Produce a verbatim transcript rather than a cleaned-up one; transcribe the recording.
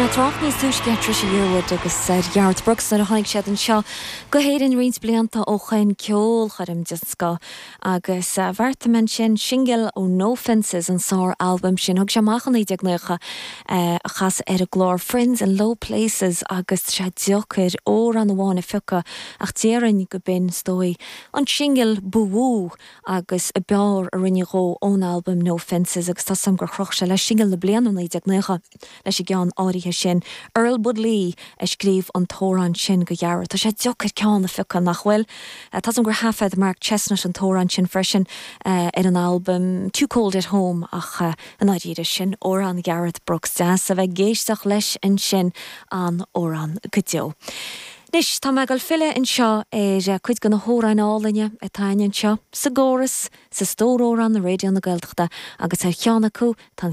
Bhí mé ag trácht níos túisce ar Trisha Yearwood agus ar Garth Brooks nuair a tháinig siad anseo go hÉirinn roinnt blianta ó shin ceolchoirm den scoth agus uh, bheartaigh mé sin singil ó No Fences an sár-albam sin thug sé amach naoi déag nócha uh, a chasadh ar an gclár Friends in Low Places agus sé deacair amhrán amháin a phiocadh ach déarfainn gurb in is dóigh an singil ba mhó agus ab fhearr a rinne dhó ón albam No Fences agus tá sam gur chroch sé le singil na bliana naoi déag nócha leis an gceann áirithe sin. Earl Bud Lee a scríobh an t-amhrán sin go Ghearairt. Tá sé deacair ceann a phiocadh nach bhfuil. Tá gur thaifead Mark Chesnutt an t-amhrán sin freisin uh, ar an album Too Cold at Home ach uh, an áirithe sin amhrán Garth Brooks deas a bheith ag éisteacht leis ansin an amhrán go deo. Anois tá mé ag filleadh anseo ar cuid de na hamhráin álainne atá anseo sa gcóras sa stór amhrán na Raidió na Gaeltachta agus ar cheann acu tá chéad